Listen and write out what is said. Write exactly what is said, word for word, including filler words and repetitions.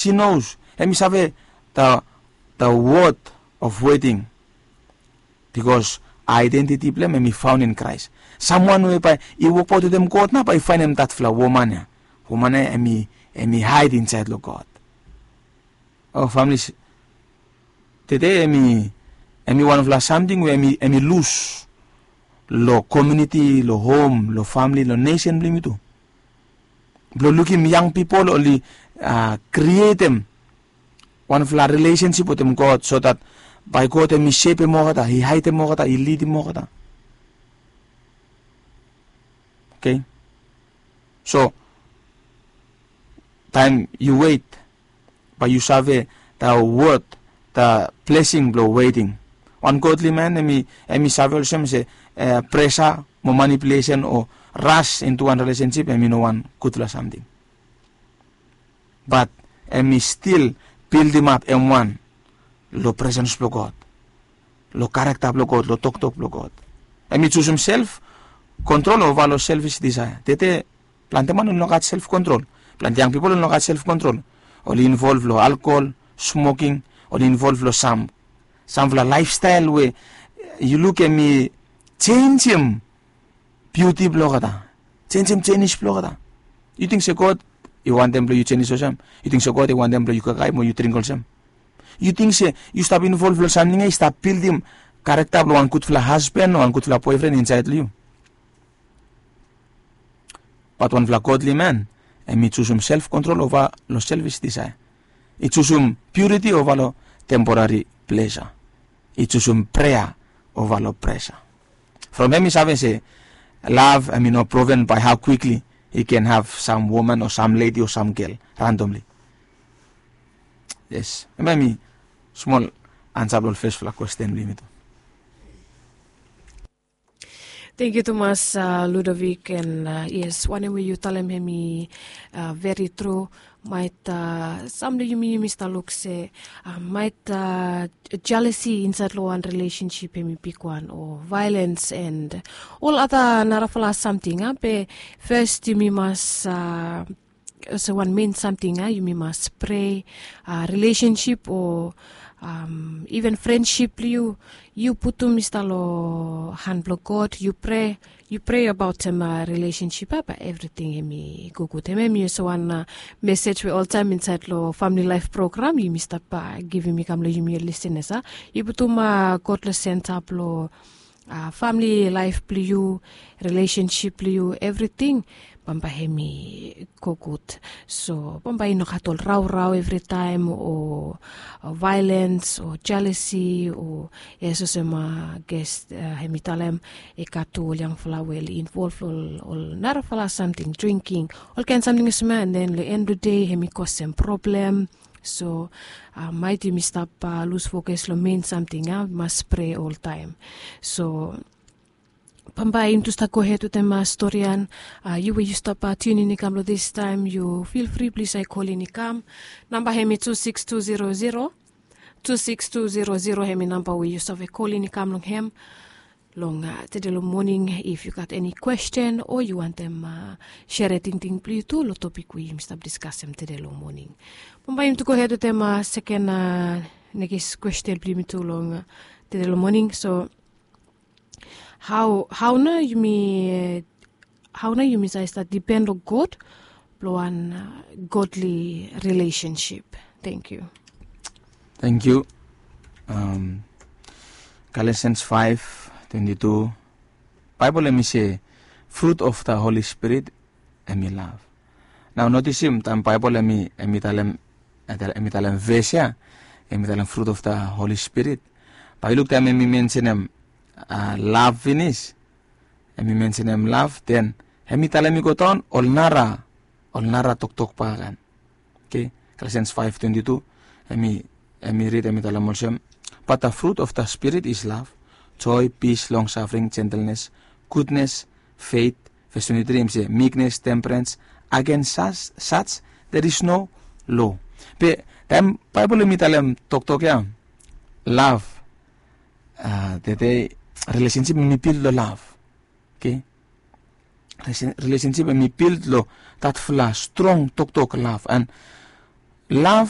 She knows, hemi save the, the worth of waiting, because identity blong hem hemi found in Christ. Someone we bae i wokbaot wetem God nao bae i faenem datfala woman ya. Woman ya hemi, hemi hide inside long God. O famili, tede hemi, hemi wanfala samting we hemi, hemi lus long komuniti, long hom, long famili, long nesen blong yumi tu. Blong lukim yang pipol oli, a, krietem wanfala rilesensip wetem God, so that bae God hemi sepem olgeta, i haedem olgeta, i lidim olgeta. Oke. So taem yu wet, bae yu save the worth, the blessing blong waiting. Wan godly man hemi, hemi save olsem se, e, pressure mo manipulation o rush into wan relationship hemi no wan gudfala samting. But hemi stil bildimap hem wan long presence blong God, long character blong God, long toktok blong God. Hemi jusum self control ova long selfish desire. Tede plante man oli no gat self control. Plante yang pipol oli no gat self control. Oli involve long alcohol, smoking, oli involve long sam, samfala lifestyle we yu luk hemi jenjem biuti blong olgeta, jenjem jenis blong olgeta. Yu ting se God i wantem blong yu jenis olsem? Yu ting se God i wantem blong yu kakae mo yu dring olsem? Yu ting se yu stap involve long samting ya i stap bildim character blong wan gudfala hasban o wan gudfala boefren insaed long yu? Bat wanfala godly man hemi jusum self control ova long selfish desire. I jusum purity ova long temporary pleasure. I jusum prayer ova long pressure. From hem i save se love hemi no proven by how quickly he can have some woman o some lady o some girl randomly. Yes, hemia hemi smol ansa blong ol fesfala kwesten blong yumi tu. Tangkiu tumas, a, Ludovic, and, a, yes, wanem we yu talem hemi, a, veri tru. Maet, a, sam blong yumi, yumi stap luk se, a, maet, a, jealousy insaed long wan relationship hemi bigwan, o violence and ol ada narafala samting, a, be fes yumi mas, a, olsem wan mein samting, a, yumi mas prea, a, relationship o, am, even friendship blong yu, yu putum i stap long han blong God, yu prea, yu prea abaot, am, a, relationship, a, bae evriting hemi go gud. Hemia hemi olsem wan, a, message we oltaem insaed long family life program yumi stap, a, givim i kam long yumi ol listeners, a. Yu putum, a, God long senta blong, a, family life blong yu, relationship blong yu, evriting bambae hemi go gud. So bambae i no gat ol raorao evritaem o, o violence o jealousy o, yes, olsem, a, ges, a, hemi talem, i gat tu ol yangfala we oli involve long ol, ol narafala samting, drinking, olkaen samting olsem ia, and then long end blong dei hemi kosem problem. So, a, maet yumi stap, a, lus focus long mein samting, a, mas prea oltaem. So bambae yumi tu stap gohed wetem, a, storian, a, yu we yu stap, a, tiunin i kam long distaem, yu feel free plis, a, i kolin i kam. Namba hemi tu sikis tu zero zero, tu sikis tu zero zero, hemi namba we yu save kolin i kam long hem. Long, a, tede long moning, if yu gat eni kwesten o yu wantem, a, sere tingting blong yu tu long topik we yumi stap diskasem tede long moning. Bambae yumi tu gohed wetem, a, seken, a, nekis kwesten blong yumi tu long, a, tede long moning. So hao, hao nao yumi, hao nao yumi save stap dipen long God blong wan, a, godly relationship? Tangkiu. Tangkiu. Am, Galatians five twenty-two, Baebol hemi se fruit of the Holy Spirit hemi love. Nao notisim taem Baebol hemi, hemi talem, hemi talem ves ia, hemi talem fruit of the Holy Spirit, bae yu luk taem hemi mensenem, a, love finis, hemi mensenem love, then hemi talem i go daon ol nara, ol nara toktok bakegen. Oke, Galatians five twenty-two, hemi, hemi rid, hemi talem olsem, but the fruit of the Spirit is love, joy, peace, long suffering, gentleness, goodness, faith. Ves twenty-three hemi se meekness, temperance, against such, such there is no law. Be taem Baebol hemi talem toktok ia, love, a, tede relationship hemi build long love. Oke, relationship hemi build long datfala strong toktok love. And lav